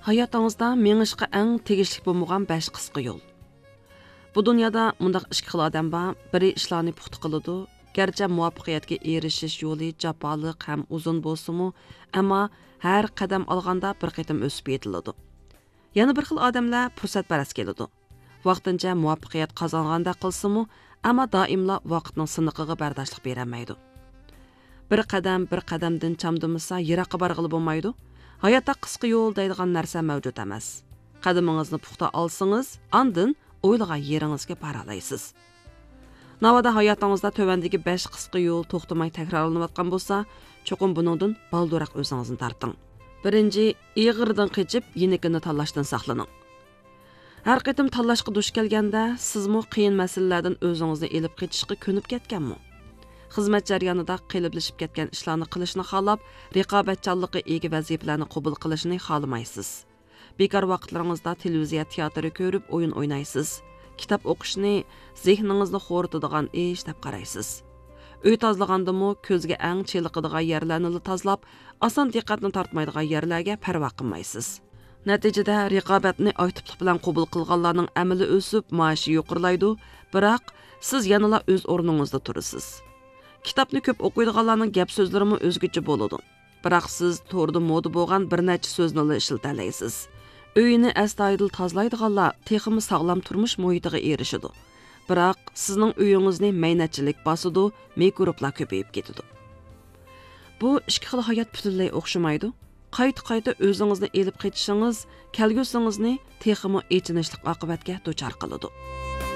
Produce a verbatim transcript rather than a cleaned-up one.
ھاياتىڭىزدا مېڭىشقا ئەڭ تېگىشلىك بولمىغان بەش قىسقا يول. بۇ دۇنيادا مۇنداق ئىككى خىل ئادەم بار، بىرى ئىشلارنى پۇختا قىلىدۇ، گەرچە مۇۋەپپەقىيەتكە ئېرىشىش يولى جاپالىق ھەم ئۇزۇن بولسىمۇ، ئەمما ھەر قەدەم ئالغاندا بىر قېتىم ئۆسۈپ يېتىلىدۇ. يەنە بىر خىل ئادەملەر پۇرسەتپەرەس كېلىدۇ. ۋاقتىنچە مۇۋەپپەقىيەت قازانغاندەك قىلسىمۇ، ئەمما دائىملا ۋاقىتنىڭ سىنىقىغا بەرداشلىق بېرەلمەيدۇ. بىر قەدەم بىر قەدەمدىن چامدىمىسا، يىراققا بارغىلى بولمايدۇ. ھاياتتا قىسقا يول دەيدىغان نەرسە مەۋجۇت ئەمەس. قەدىمىڭىزنى پۇختا ئالسىڭىز، ئاندىن ئويلىغان يېرىڭىزگە بارالايسىز. ناۋادا ھاياتىڭىزدا تۆۋەندىكى بەش قىسقا يول توختىماي تەكرارلىنىۋاتقان بولسا، چوقۇم بۇنىڭدىن بالدۇرراق ئۆزىڭىزنى تارتىڭ. بىرىنچى، ئېغىرىدىن قېچىپ، يېنىكىنى تاللاشتىن ساقلىنىڭ. ھەر قېتىم تاللاشقا دۇچ كەلگەندە، سىزمۇ قىيىن مەسىلىلەردىن ئۆزىڭىزنى ئېلىپ قېچىشقا كۆنۈپ كەتكەنمۇ؟ خىزمەت جەريانىدا قېلىپلىشىپ كەتكەن ئىشلارنى قىلىشنى خالاپ، رىقابەتچانلىققا ئىگە ۋەزىپىلەرنى قوبۇل قىلىشنى خالىمايسىز. بىكار ۋاقىتلىرىڭىزدا تېلېۋىزىيە تىياتىرى كۆرۈپ ئويۇن ئوينايسىز. كىتاب ئوقۇشنى زېھنىڭىزنى خورىتىدىغان ئىش دەپ قارايسىز. ئۆي تازىلىغاندىمۇ كۆزگە ئەڭ چېلىقىدىغان يەرلەرنىلا تازىلاپ، ئاسان دىققەتنى تارتمايدىغان يەرلەرگە پەرۋا قىلمايسىز. نەتىجىدە، رىقابەتنى ئاكتىپلىق بىلەن قوبۇل قىلغانلارنىڭ ئەمىلى ئۆسۈپ، مائاشى يۇقىرىلايدۇ، بىراق سىز يەنىلا ئۆز ئورنىڭىزدا تۇرىسىز. كىتابنى كۆپ ئوقۇيدىغانلارنىڭ گەپ سۆزلىرىمۇ ئۆزگىچە بولىدۇ. بىراق سىز توردا مودا بولغان بىر نەچچە سۆزنىلا ئىشلىتەلەيسىز. ئۆيىنى ئەستايىدىل تازىلايدىغانلار تېخىمۇ ساغلام تۇرمۇش مۇھىتىغا ئېرىشىدۇ. بىراق سىزنىڭ ئۆيىڭىزنى مەينەتچىلىك باسىدۇ، مىكروبلار كۆپىيىپ كېتىدۇ. بۇ ئىككى خىل ھايات پۈتۈنلەي ئوخشىمايدۇ. قايتا-قايتا ئۆزىڭىزنى ئېلىپ قېچىشىڭىز كەلگۈسىڭىزنى تېخىمۇ ئېچىنىشلىق ئاقىۋەتكە دۇچار قىلىدۇ.